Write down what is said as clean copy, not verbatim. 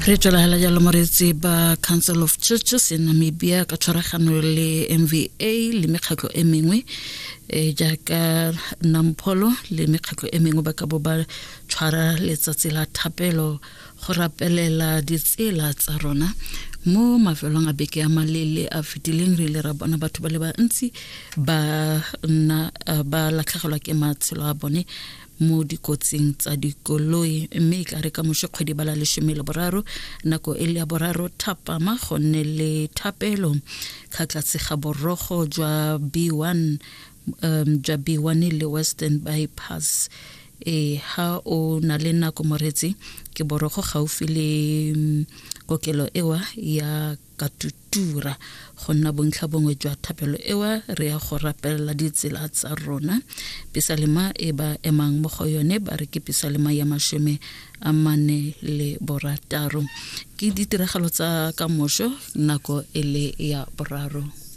Re tswela hela jalo moreetsi. Ba Council of Churches in Namibia ka tshwaragano le MVA le mekgatlho e mengwe jaaka Nampholo le mekgatlho e mengwe ba ka bo ba tshwara letsatsi la thapelo go rapelela ditsela tsa rona. Mo mafelong a beke a malele a fetileng, re ile ra bona batho ba le bantsi ba nna ba latlhegelwa ke matshelo a bone mo dikotsing tsa dikoloi, mme e tla re ka moso kgwedi ba la 13, nako e le ya 3 thapama, go nne le thapelo kgatlatse ga borogo jwa B1, jwa B1 le Western Bypass. Ha o na le nako moretsi, ke borogo gaufi le kokelo ewa ya Katutura, go nna bontlha bongwe jwa thapelo ewa. Re ya go rapelela ditsela tsa rona. Pisalema e ba emang mo go yone ba re ke pisalema ya 46. Ke ditiragalo tsa ka moso nako e le ya 3.